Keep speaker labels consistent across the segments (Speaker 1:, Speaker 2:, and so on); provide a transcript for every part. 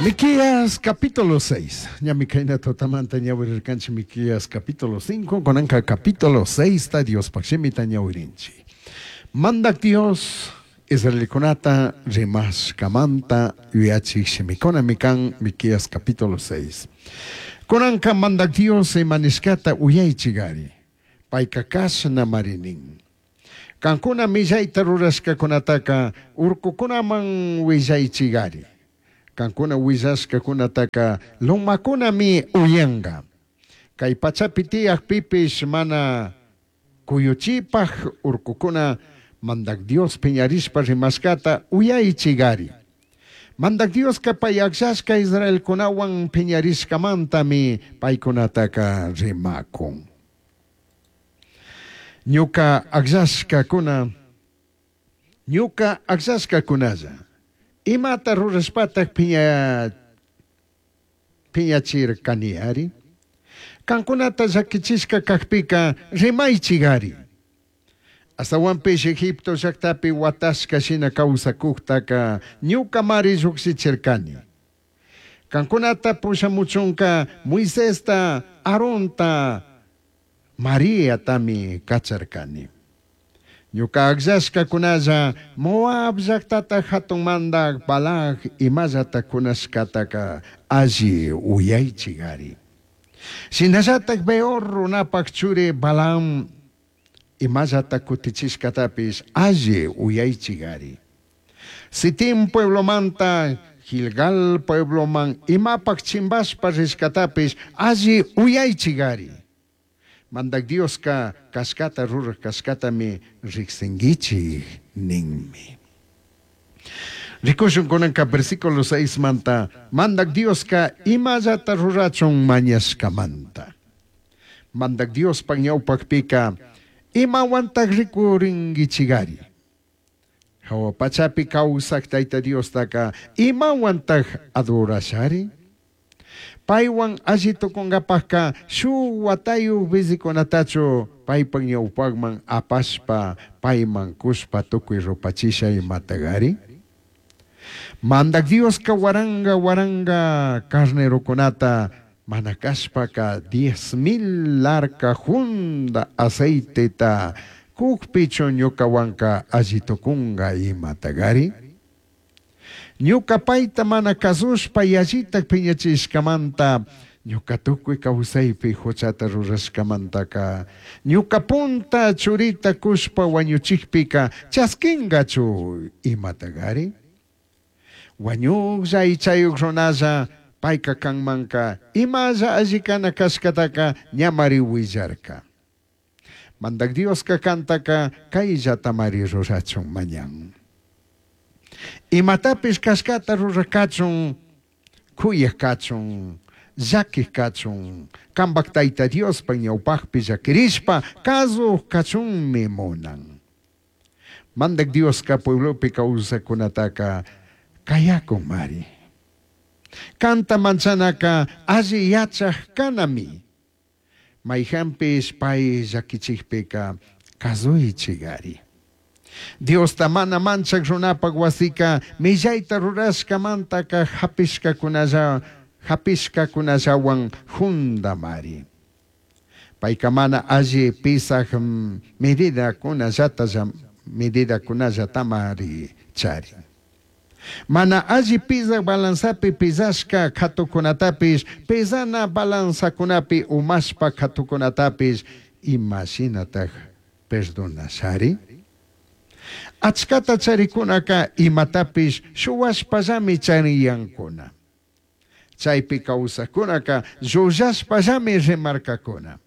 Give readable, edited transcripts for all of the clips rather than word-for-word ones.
Speaker 1: Miqueas capítulo 6. Ñami kayna tutamanta ñawirirkanchik Miqueas capítulo 5, kunanka capítulo 6 ta Diospaj shimita ñawirinchik. Mandak Dios israelcunata rimashcamanta yuyachij shimicunami can Miqueas capítulo 6. Kunanka Mandak Dios ima nishcata uyaichigari. Paica cashnamari nin. Cancuna millaita rurashcacunataca urcucunaman huillaichigari. Cancuna huillashcacunataca lomacunami uyanga. Cai pachapi tiyajpipish mana cuyuchipaj urcucuna Mandac Dios piñarishpa rimashcata uyaichigari. Mandac Diosca pai agllashca israelcunahuan piñarishcamantami paicunataca rimacun. Ñuca agllashcacuna, ñuca agllashcacunalla, imata rurashpataj piña piñachircaniyari? Cancunata llaquichishca cajpica rimaichigari. Ashtahuanpish Egipto llajtapi huatashca shina causacujtaca ñucamari llujshichircani. Cancunata pushamuchunca Moisesta, Aaronta, Mariatami cacharcani. Ñuca agllashcacunalla Moab llajtata jatun mandaj Balac imallata cunashcataca alli uyaichigari. Shinallataj Beor runapaj churi Balaam imallata cutichishcatapish alli uyaichigari. Sitim pueblomanta Gilgal puebloman imapaj chimbashpa rishcatapish alli uyaichigari. Mandac Diosca cashcata ruraj cashcatami rijsinguichij ninmi. Ricushun cunanca versículo 6 manta Mandac Diosca imallata rurachun mañashcamanta. Mandac Diospaj ñaupajpica imahuantaj ricuringuichigari? Jahua pachapi causaj Taita Diostaca imahuantaj adorashari? Paihuan alli tucungapajca shuj huatayuj bizicunatachu paipaj ñaupajman apashpa paiman cushpa tucui rupachisha imatagari? Mandac Diosca huaranga huaranga carnerocunata mana cashpaca 10,000 larca junda aceiteta cujpichu ñucahuanca alli tucunga imatagari? Ñuca paita mana cazushpa yallitaj piñachishcamanta, ñuca tucui causaipi juchata rurashcamantaca, ñuca punta churita cushpa huañuchijpica chasquingachu imatagari? Huañujlla aichayuj runalla paica canmanca imalla alli cana cashcataca ñamari huillarca. Mandac Diosca cantaca caillatamari rurachun mañan. Imatapish cashcata ruraj cachun, cuyaj cachun, llaquij cachun, cambaj Taita Diospaj ñaupajpi llaquirishpa cazuj cachunmi munan. Mandac Diosca pueblopi causajcunataca cayacunmari. Canta manchanaca alli yachaj canami. Maijanpish pai llaquichijpica cazuichigari. Diosta mana manchaj runapaj huasica millaita rurashcamantaca japishcacunalla japishcacunallahuan jundamari. Paica mana alli pisaj medidacunallata medidacunallatamari charin. Mana alli pizaj balanzapi pizashca catucunatapish, pezana balanzacunapi umashpa catucunatapish ima shinataj perdonashari? Achcata charicunaca imatapish shuhuashpallami chariyancuna. Chaipi causajcunaca llullashpallami rimarcacuna.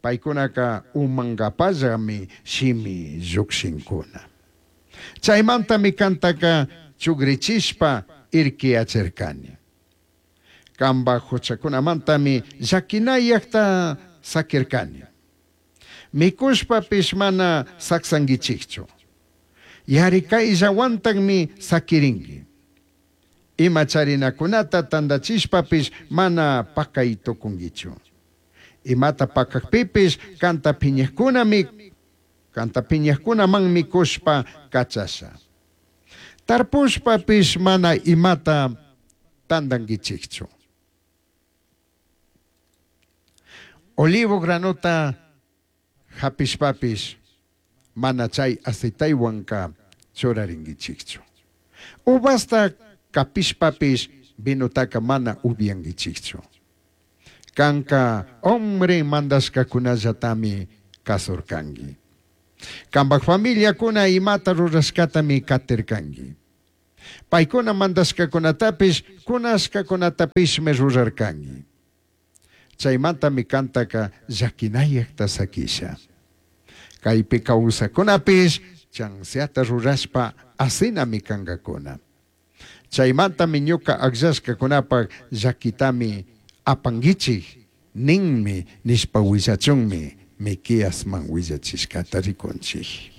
Speaker 1: Paicunaca umangapallami shimi llujshincuna. Chaimantami cantaca chugrichishpa irquiyachircani. Cambaj juchacunamantami llaquinayajta saquircani. Micushpapish mana sacsanguichijchu. Yaricaillahuantajmi saquiringui. Ima charinacunata tandachishpapish mana pacai tucunguichu. Imata pacajpipish canta piñajcunami canta piñajcunamanmi cushpa cachasha. Tarpushpapish mana imata tandanguichijchu. Olivo granota japishpapish mana chai aceitehuanca churaringuichijchu. Uvasta capishpapish vinotaca mana ubyanguichijchu. Canca Omri mandashcacunallatami cazurcangui. Cambaj familiacuna imata rurashcatami catircangui. Paicuna mandashcacunatapish cunashcacunatapishmi rurarcangui. Chaimantami cantaca llaquinayajta saquisha. Caipi causajcunapish chanzata rurashpa asinami cangacuna. Chaimantami ñuca agllashcacunapaj llaquitami apanguichij ninmi nishpa huillachunmi Miqueasman huillachishcata ricunchij.